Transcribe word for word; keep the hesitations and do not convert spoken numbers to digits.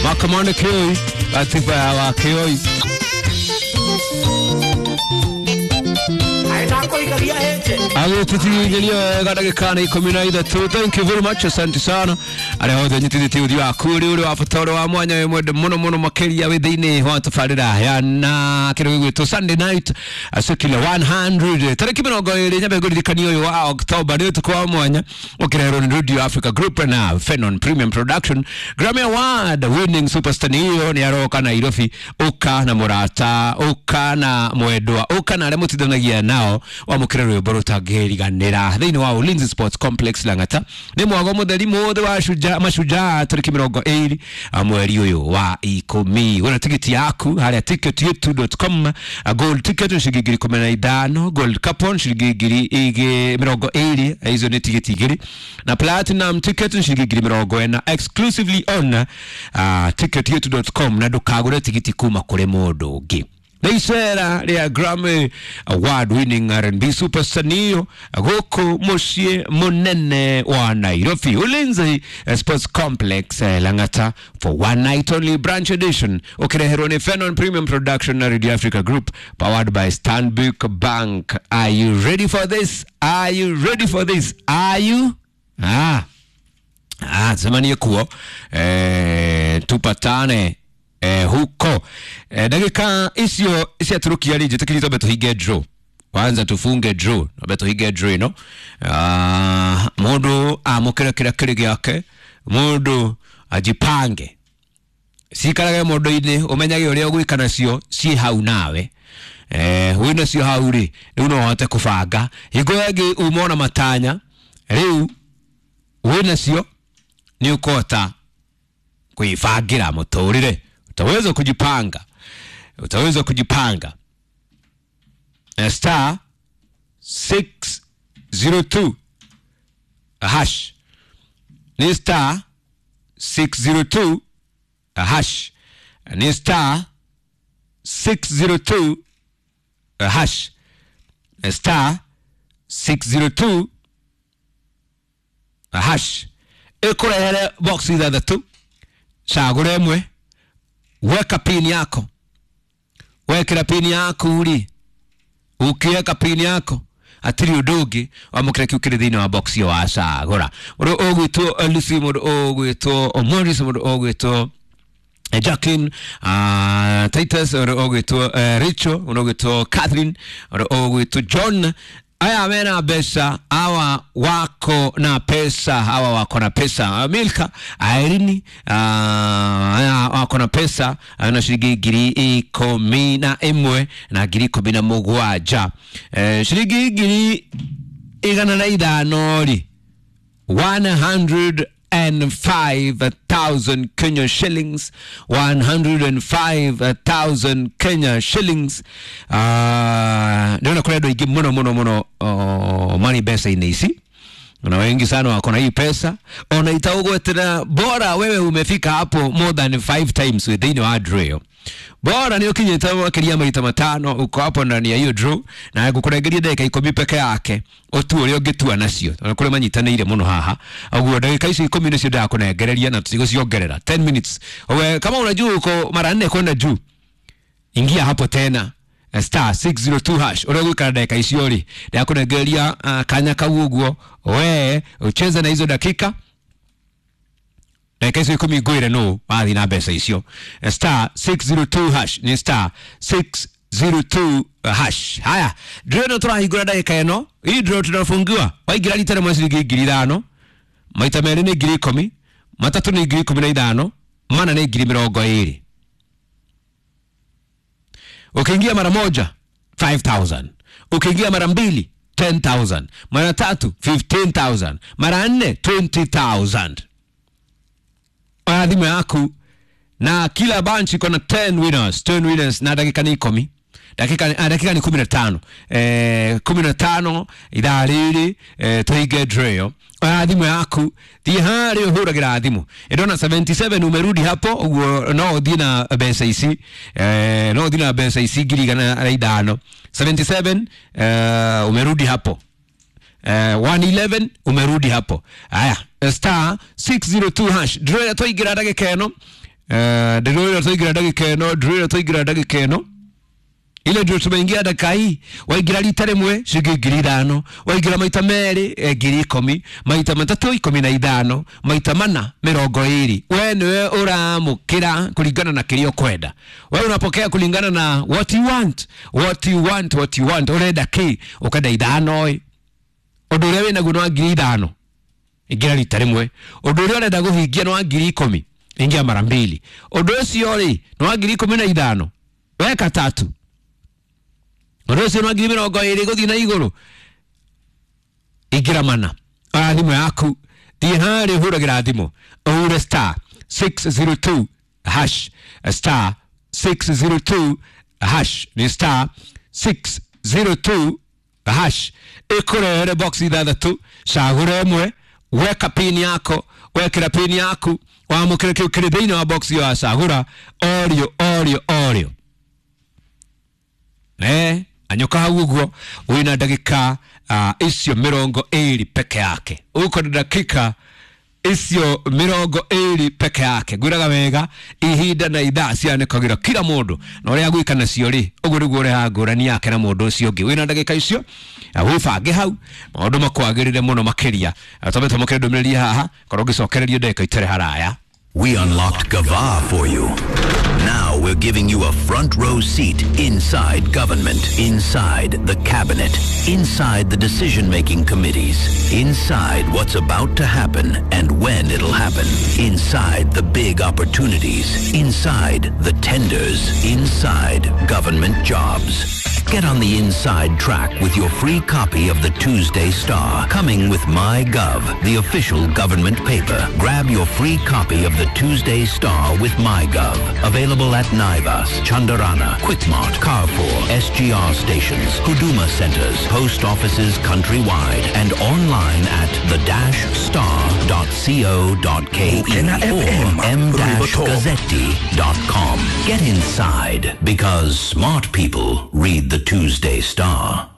Makamane Kioi atiba ya wa Kioi agututigeria wega ndagĩka nĩ ikũmi na ithatũ. Thank you very much, asante sana arĩa othe nyitithĩtie ũthiũ waku ũrĩ ũrĩ wa bata ũrĩ wa mwanya wĩ mwende mũno mũno makĩria wĩ thĩinĩ wa tabarĩra ya na kĩndũ gĩgwĩtwo Sunday Night Secular one hundred tarĩki mĩrongo ĩrĩ nyambe ngũririkanie ũyũ wa October nĩ ũtukũ wa mwanya ũkĩreherwo nĩ Radio Africa Group na Fenon Premium Production. Grammy Award winning superstar nĩyo nĩ aroka Nairobi. Ũka na mũrata, ũka na mwendwa, ũka na arĩa mũtindanagia nao wamũkĩre rwĩmbo rũtangĩriganĩra thĩinĩ wa Ulinzi Sports Complex Lang'ata nĩ mwago mũtheri mũthĩ wa shuja, mashujaa tarĩki mĩrongo ĩrĩ mweri ũyũ wa ikũmi. Gũra tigiti yaku harĩa ticket yetu dot com. Gold ticket nĩ ciringi ngiri ikũmi na ithano, gold coupon ciringi ngiri igĩ mĩrongo ĩrĩ, icio nĩ tigiti igĩrĩ, na platinum ticket nĩ ciringi ngiri mĩrongo ĩna, exclusively on uh, ticket yetu dot com, na ndũkagũre tigiti kuma kũrĩ mũndũ ũngĩ. Nĩ icera rĩa Grammy Award winning R and B superstar niyo gũkũ mũciĩ mũnene wa Nairobi, Ulinzi Sports Complex, eh, Lang'ata, for one night only branch edition, ũkĩreherwo nĩ Fenon Premium Production na Radio Africa Group, powered by Stanbic Bank. Are you ready for this? Are you ready for this? Are you? Ah. Ah, semanie kuo eh, tupatane eh, huko eh, ndagĩka icio ciatũrũkia rĩ, njĩtĩkĩrie twambe tũhinge draw kwanza, tufunge draw, twambe tũhinge draw ĩno. Ah, mũndũ amũkĩre kĩrĩa kĩrĩ gĩake, mũndũ ajipange, cikarage mondo-inĩ, ũmenyage ũrĩa ũgwĩka nacio ciĩ hau nawe eh, wĩ nacio hau rĩ, rĩu no ũhote kũbanga hingo ĩngĩ uma ona matanya rĩu wĩ nacio nĩ ũkũhota kwĩbangĩra mũtũrĩre, utaweza kujipanga, utaweza kujipanga. Eh, star six zero two hash, ni star six zero two hash, ni star six zero two hash, star six zero two hash ĩkũrehere box ithathatũ, cagũra ĩmwe, weka pin yako. Wekĩra pin yaku rĩ, ũkĩweka pin yako hatirĩ ũndũ ũngĩ, wamũkĩra kĩu kĩrĩ thĩinĩ wa box ĩyo wacagũra. Mũndũ ũgwĩtwo Lucy, mũndũ ũgwĩtwo Morris, mũndũ ũgwĩtwo eh, Jacqueline, uh, Titus, ũndũ ũgwĩtwo uh, Rachel, ũndũ ũgwĩtwo Catherine, ũndũ ũgwĩtwo John, aya mena pesa, hawa wako na pesa, hawa wako na pesa. Milka, Irene, uh, aya wako na pesa na ciringi ngiri ikũmi na ĩmwe na ngiri ikũmi na mũgwanja. Eh, ciringi ngiri igana na ithano rĩ, one hundred and five thousand Kenya shillings, one hundred and five thousand Kenya shillings. uh, Ndĩrona kũrĩ andũ aingĩ mũno mũno mũno uh, mani mbeca-inĩ ici na wengi sana wako na hii pesa ona itaugwetera. Bora wewe umefika hapo more than five times thĩinĩ wa draw ĩyo, bora nĩ ũkinyĩte makĩria maita matano, uko hapo ndani ya hiyo draw na ngũkũrengeria ndagĩka ikũmi peke yake ũtue ũrĩa ũngĩtua nacio tondũ kũrĩ manyitanĩire mũno haha. Ũguo ndagĩka icio ikũmi nĩcio ndakũnengereria na tũtigũciongerera, ten minutes. We, kama unajua uko mara nne kwenda juu, ingia hapo tena, eh, star six zero two hash, ũrĩa ũgũikara ndagĩka icio rĩ, ndakũnengereria uh, kanya kau ũguo we ucheze na hizo dakika ndagĩka icio ikũmi ngwĩre nũ wathiĩ na mbeca icio. Eh, star six zero two hash, ni star six zero two hash. Haya, draw ĩno tũrahingũra ndagĩka ĩno, hii draw tunafungiwa. Waingĩra rita rĩmwe ciringi ngiri ithano, maita merĩ nĩ ngiri ikũmi, matatũ nĩ ngiri ikũmi na ithano, mana nĩ ngiri mĩrongo ĩrĩ. Ukiingia mara moja five thousand, ukiingia mara mbili ten thousand, mara tatu fifteen thousand, mara nne twenty thousand. Oya thimũ yaku na kila bunch iko na ten winners, ten winners, na dakika ni ikũmi, dakika ah, dakika ni kumi na tano, eh, kumi na tano ithaa rĩrĩ eh, tũhinge draw ĩyo. Oya thimũ yaku, thiĩ harĩa ũhũragĩra thimũ. Ndona seventy-seven umerudi hapo, ũguo no ũthiĩ na mbeca ici, eh, no ũthiĩ na mbeca ici ngiri igana na ithano. seventy-seven, eh, umerudi hapo. Eh, one eleven umerudi hapo. Haya, star six oh two hash. Ndĩrona twaingĩra ndagĩka ĩno. Eh, ndĩrona twaingĩra ndagĩka ĩno, ndĩrona twaingĩra ndagĩka ĩno. Ile ndio tumeingia dakika hii. Waingira rita rimwe ciringi ngiri ithano, waingira maita meri eh, ngiri ikumi, maita matatu ikumi na ithano, maita mana mirongo iri. We niwe uramukira kulingana na kiria ukwenda. We unapokea kulingana na what you want, what you want, what you want. Urenda ki ukenda ithano ĩ. Undu uria winaguo nĩ wa ngiri ithano, ingira rita rimwe. Undu uria urenda guhingia nĩ wa ngiri ikumi, ingia mara mbili. Undu ucio ri nĩ wa ngiri ikumi na ithano, weka tatu. Undu ucio nĩ wa ngiri mĩrongo ĩrĩ gũthiĩ na igũrũ, ingira mana. Oya thimũ yaku, thiĩ harĩa ũhũragĩra thimũ, ũhure star six oh two hash, star six oh two hash, ni star six oh two hash. Ĩkũrehere box ithathatũ, cagũra ĩmwe, weka pin yako, wekĩra pin yaku, wamũkĩre kĩu kĩrĩ thĩinĩ wa box ĩyo wacagũra, orio, orio, orio. Eh, anyoka hau ũguo, wĩna ndagĩka uh, icio mĩrongo ĩrĩ peke yake. Uko na dakika icio mĩrongo ĩrĩ peke yake. Ngwĩraga wega, ihinda na ithaa cianĩkagĩra kila mũndũ, na ũrĩa agwĩka nacio rĩ, ũguo nĩguo ũrehaga ngũrani yake na mũndũ ũcio ũngĩ. Wĩna ndagĩka icio, wĩbange hau, maũndũ makwagĩrĩre mũno makĩria. Twambe twamũkĩre ndũmĩrĩri haha, korwo ũngĩcokererio ndagĩka itarĩ haraya. We unlocked Gava for you. Now we're giving you a front row seat inside government, inside the cabinet, inside the decision-making committees, inside what's about to happen and when it'll happen, inside the big opportunities, inside the tenders, inside government jobs. Get on the inside track with your free copy of the Tuesday Star, coming with MyGov, the official government paper. Grab your free copy of the Tuesday Star with MyGov. Available at Naivas, Chandarana, Quickmart, Carrefour, S G R stations, Huduma centers, post offices countrywide, and online at the dash star dot co dot ke or m dash gazzetti dot com. Get inside, because smart people read the Tuesday Star.